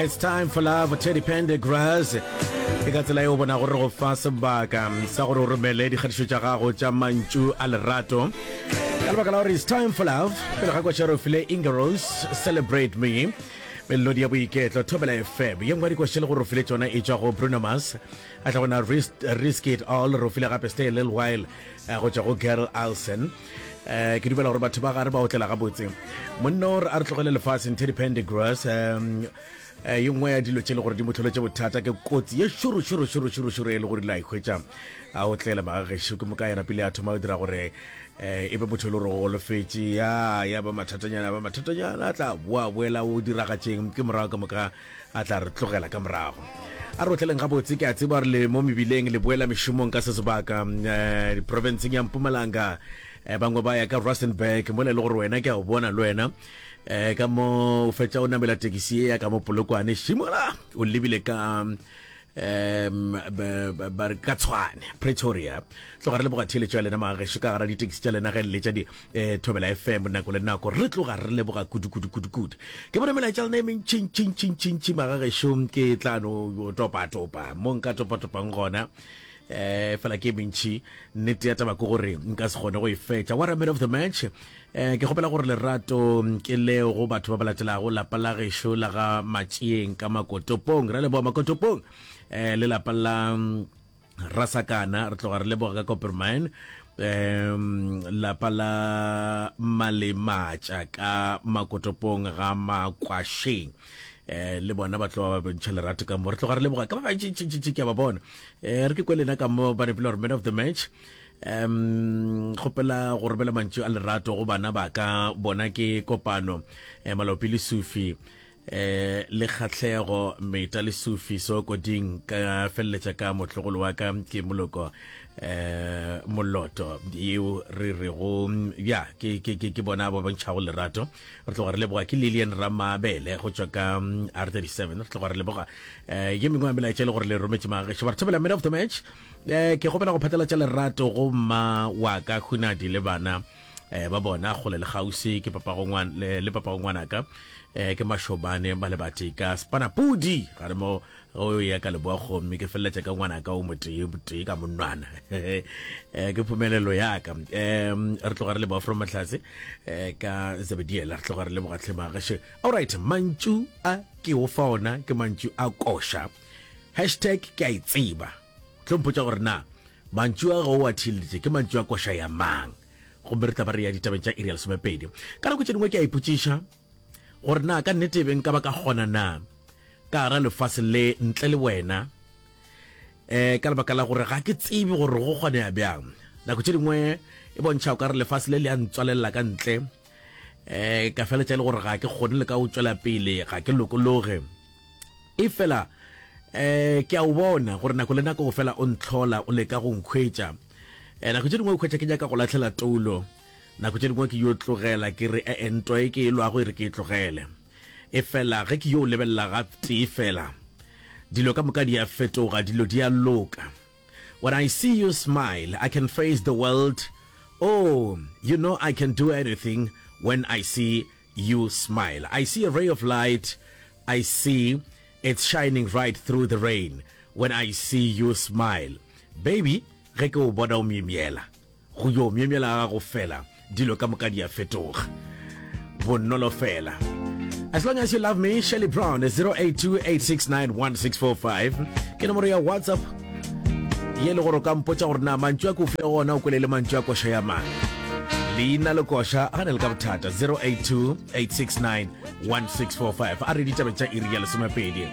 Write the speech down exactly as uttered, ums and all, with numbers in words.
It's time for love, Teddy Pendergrass. Ke ka tsela e o bona gore go fa sebaka sa gore o romele dikgatišo tša gago tša mantšu a lerato. Ka lebaka la gore it's time for love, pele ga koša re file Ingeros, Celebrate Me. Melodi ya boiketlo, Thobela FM. Ye nngwe ya dikoša le gore o file tšona e tšwa go Bruno Mars. A tla gona Risk, Risk It All, re o file gape Stay a Little While eh, go tšwa go Gerl Alson. Eh, ke dumela gore batho ba gare ba otlela gabotse monna o re a re tlogele lefaseng Teddy Pendergrass um ye nngwe ya dilo tše le gore di mo tlholetše bothata ke kotsi ye šoro šoro šoro šoro šoro e le gore ile a ikhwetša a otlela magagešo ke moka yena pele a thoma go dira gore eh, e be motho e le gore o golofetše ya ya ba mathatanyana ba mathatanyana a tla boa boela o diragatšeng ke morago ka moka a tla re tlogela ka morago a re otleleng gabotse ke a tseba gore le mo mebileng le boela mešomong ka se sebaka um diprovinceng ya Mpumalanga eh, bangwe ba ya ka Rustenburg mola e le gore wena ke a o bona le wena eh ka mo o fetša o namela tekisi ye ya ka mo Polokwane šimola o lebile ka um ba re ka Tshwane Pretoria tloga re leboga theeletšo ya lena magagešo ka gara ditekisi tša lena ge le letša di eh, Thobela FM nako le nako re tloga re leboga kudu kudu kudu kudu ke bone melaetša lena e mentšintšintšintšintši magagešo ke tla no topa-topa mo nka topa-topang gona eh fela ke mentši nnete ya taba ke gore nka se kgone go e fetša what a man of the match eh ke kgopela gore lerato ke leo go batho ba ba latelago lapa la gešo la ga Matšieng ka Makotopong re leboga Makotopong eh le lapa la mm, Rasakana re tloga re leboga ka Coppermine um lapa la Malematša ka Makotopong ga Makwašeng eh le bona ba tloga ba bontšha lerato ka mo re tloga re leboga ka ba bantši ke a ba bona eh re ke kwe lena ka mo ba nepile gore man of the match um kgopela go romela mantšu a lerato go bana ba ka bona ke kopano eh, malopi le sufi eh le kgatlhego meta le sufi so koding ka feleletša ka motlogolo wa ka ke moloko eh moloto yeo re rego ya ke ke ke ke bona ba bontšhago lerato re tloga re leboga ke Lilian Ramabele go tšwa ka mm, R thirty-seven re tloga re leboga eh ye mengwe ya melaetša e le gore le rometše magagešo ba re thobela man of the match eh ke kgopela go phatlalatša lerato go mma wa ka Hunadi le bana eh ba bona kgole le gausi ke papago ngwana le, le papago ngwanaka eh ke Mashobane ba le batee ka Spanapudi ga re mo o ya ka leboa gomme ke feleletša ka ngwanaka o motee tee ka monwana eh ke phumelelo yaka um re tloga re leboga from Mahlatse eh ka Zebediela re tloga re leboga tlhemagashe alright mantšu a ke o fa ona ke mantšu a koša hashtag ke a e tseba tlo mpotša gore na mantšu a go o a theeleditše ke mantšu a koša ya mang gomme re tla ba re ya ditabeng tša iri ya lesomepedi ka nako tše dingwe ke a ipotšiša gore na ka nnete be nka ba ka kgona na ka gara lefase le ntle le wena eh ka lebaka la gore ga ke tsebe gore go kgonega bjang nako tše dingwe e bontšha o ka re lefase le le a ntswalelela ka ntle eh ka feletša e le gore ga ke kgone le ka o tšwela pele ga ke lokologe e fela eh ke a o bona gore nako le nako o fela o ntlhola o leka go nkhwetša eh nako tše dingwe o khwetša ke nyaka go latlhela toulo nako tše dingwe ke yo tlogela ke re ee ntwa e ke e lwago e re ke e tlogele e fela ge ke yo lebelela ga tee fela dilo ka moka di a fetoga dilo di a loka when I see you smile I can face the world oh you know I can do anything when I see you smile I see a ray of light I see it's shining right through the rain when I see you smile baby ge ke o bona o myemyela go yo myemyela ga gago fela dilo ka moka di a fetoga bonolo fela As long as you love me, Shelly Brown, zero eight two eight six nine one six four five. Ke nomoro ya WhatsApp ye le gore o ka mpotša gore na mantšu a ke o file gona o kwele le mantšu a koša ya mang leina le koša ga ne le ka bothata zero eight two eight six nine one six four five a re ditabeng tša iri ya lesomepedi.